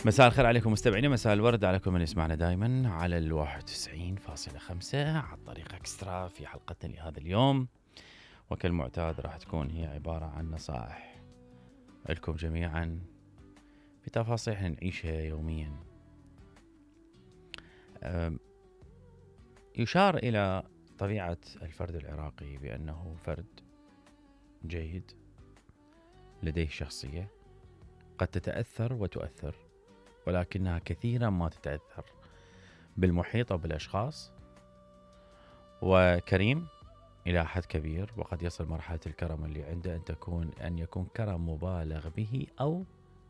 مساء الخير عليكم مستمعينا، مساء الورد على كل من يسمعنا دائما على 91.5 عن طريق اكسترا. في حلقتنا لهذا اليوم وكالمعتاد راح تكون هي عبارة عن نصائح لكم جميعا في تفاصيل نعيشها يوميا. يشار إلى طبيعة الفرد العراقي بأنه فرد جيد لديه شخصية قد تتأثر وتؤثر، ولكنها كثيرا ما تتأثر بالمحيط أو بالأشخاص، وكريم إلى حد كبير، وقد يصل مرحلة الكرم اللي عنده أن يكون كرم مبالغ به أو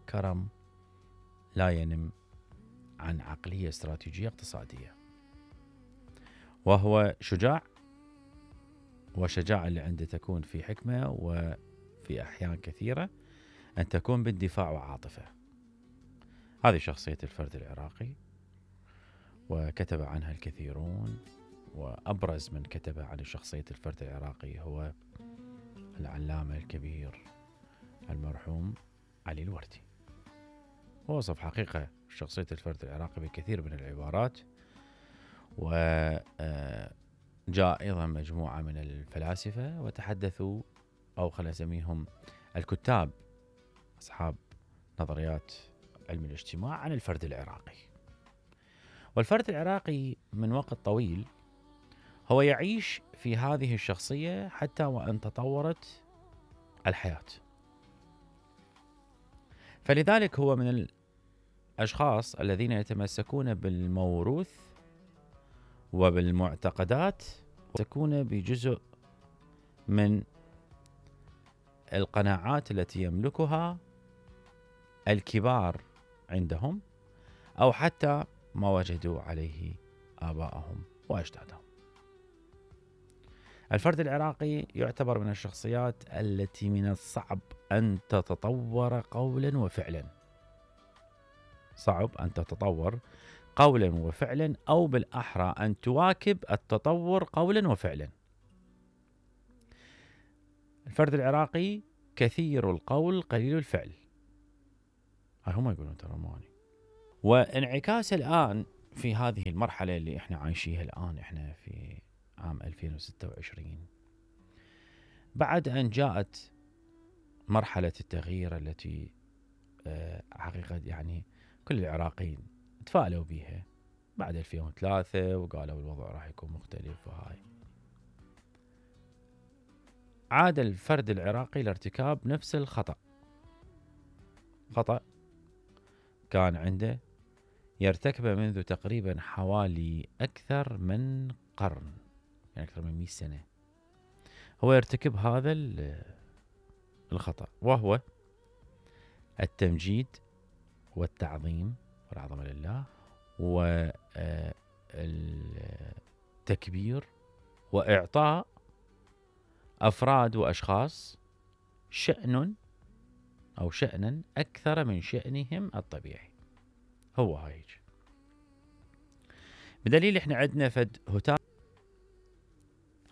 كرم لا ينم عن عقلية استراتيجية اقتصادية. وهو شجاع، وشجاعة اللي عنده تكون في حكمة، وفي أحيان كثيرة أن تكون بالدفاع وعاطفة. هذه شخصية الفرد العراقي، وكتب عنها الكثيرون، وأبرز من كتب عن شخصية الفرد العراقي هو العلامة الكبير المرحوم علي الوردي. ووصف حقيقة شخصية الفرد العراقي بكثير من العبارات، وجاء أيضا مجموعة من الفلاسفة وتحدثوا، أو خلينا نسميهم الكتاب أصحاب نظريات علم الاجتماع، عن الفرد العراقي. والفرد العراقي من وقت طويل هو يعيش في هذه الشخصية حتى وأن تطورت الحياة. فلذلك هو من الأشخاص الذين يتمسكون بالموروث وبالمعتقدات، ويتمسكون بجزء من القناعات التي يملكها الكبار عندهم، أو حتى ما وجدوا عليه آبائهم وأجدادهم. الفرد العراقي يعتبر من الشخصيات التي من الصعب أن تتطور قولا وفعلا. صعب أن تتطور قولا وفعلا، أو بالأحرى أن تواكب التطور قولا وفعلا. الفرد العراقي كثير القول قليل الفعل، هم يقولون ترى ماني. وانعكاس الآن في هذه المرحلة اللي احنا عايشيها الآن، احنا في عام 2026 بعد أن جاءت مرحلة التغيير التي حقيقة يعني كل العراقيين تفائلوا بها بعد 2003، وقالوا الوضع راح يكون مختلف. وهاي عاد الفرد العراقي لارتكاب نفس الخطأ، خطأ كان عنده يرتكبه منذ تقريبا حوالي أكثر من قرن، يعني أكثر من 100 سنة هو يرتكب هذا الخطأ، وهو التمجيد والتعظيم والعظمة لله، والتكبير، وإعطاء أفراد وأشخاص شأن أو شأنا أكثر من شأنهم الطبيعي. هو هايج بدليل إحنا عندنا فد هتافة.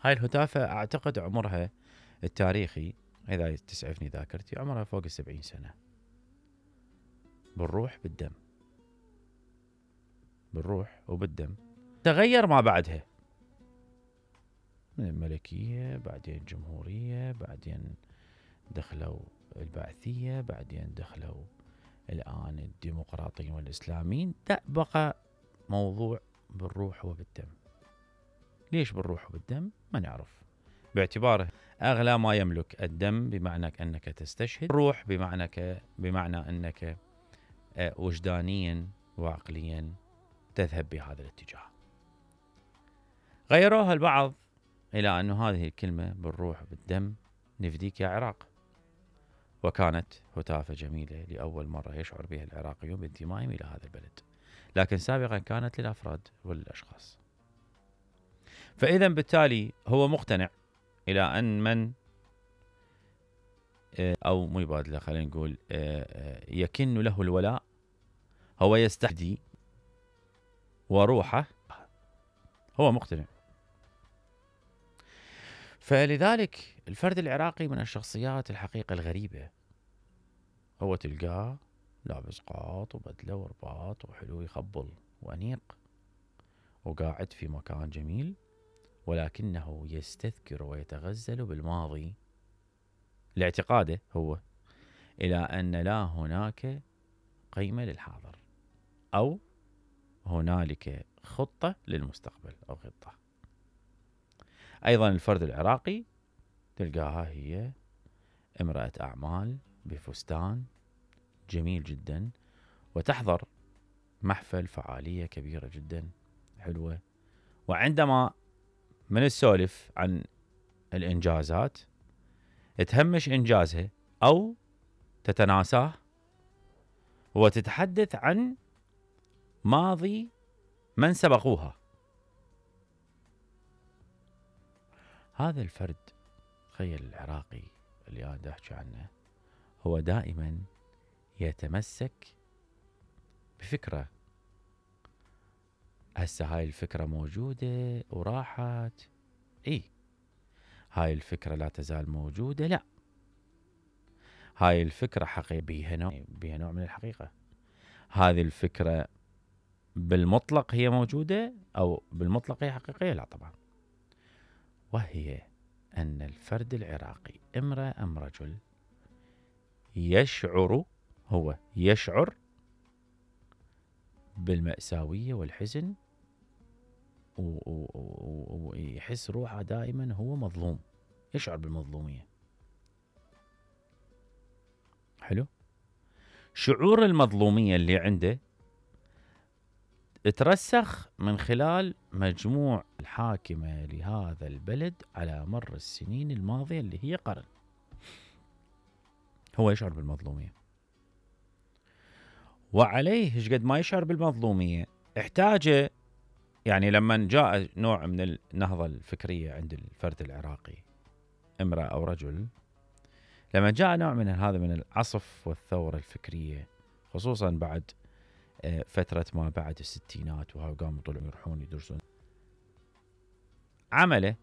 هاي الهتافة أعتقد عمرها التاريخي، إذا تسعفني ذاكرتي، عمرها فوق 70 سنة. بالروح بالدم، بالروح وبالدم. تغير ما بعدها من الملكية، بعدين جمهورية، بعدين دخلوا البعثية، بعدين دخلوا الآن الديمقراطيين والإسلاميين. بقى موضوع بالروح وبالدم. ليش بالروح وبالدم؟ ما نعرف، باعتباره أغلى ما يملك الدم، بمعنى أنك تستشهد، الروح بمعنى أنك وجدانيا وعقليا تذهب بهذا الاتجاه. غيروها البعض إلى أن هذه الكلمة بالروح وبالدم نفديك يا عراق، وكانت هتافة جميلة لأول مرة يشعر بها العراقيون بانتمائهم إلى هذا البلد، لكن سابقا كانت للأفراد والأشخاص. فإذا بالتالي هو مقتنع إلى أن من أو مو يبادله، خلينا نقول يكن له الولاء، هو يستحدي وروحه، هو مقتنع. فلذلك الفرد العراقي من الشخصيات الحقيقة الغريبة، هو تلقاه لابس قاط وبدلة ورباط وحلو يخبل وأنيق، وقاعد في مكان جميل، ولكنه يستذكر ويتغزل بالماضي لاعتقاده هو إلى أن لا هناك قيمة للحاضر، أو هنالك خطة للمستقبل أو خطة. أيضا الفرد العراقي تلقاها هي امرأة أعمال بفستان جميل جدا، وتحضر محفل فعالية كبيرة جدا حلوة، وعندما من السولف عن الإنجازات تهمش إنجازها أو تتناساه، وتتحدث عن ماضي من سبقوها. هذا الفرد تخيل العراقي اللي أنا أحكي عنه هو دائما يتمسك بفكرة، هسه هاي الفكرة موجودة وراحت، هاي الفكرة لا تزال موجودة، لا، هاي الفكرة حقيقية بيها نوع من الحقيقة. هذه الفكرة بالمطلق هي موجودة أو بالمطلق هي حقيقية؟ لا طبعا. وهي أن الفرد العراقي امرأة أم رجل يشعر بالمأساوية والحزن، ويحس روحه دائما هو مظلوم، يشعر بالمظلومية. حلو. شعور المظلومية اللي عنده ترسخ من خلال مجموع الحاكمة لهذا البلد على مر السنين الماضية اللي هي قرن. هو يشعر بالمظلومية، وعليه ايش قد ما يشعر بالمظلومية احتاج، يعني لما جاء نوع من النهضة الفكرية عند الفرد العراقي امرأة أو رجل، لما جاء نوع من هذا من العصف والثورة الفكرية، خصوصا بعد فترة ما بعد الستينات، وهاو قاموا طلعوا يروحون يدرسون، عمله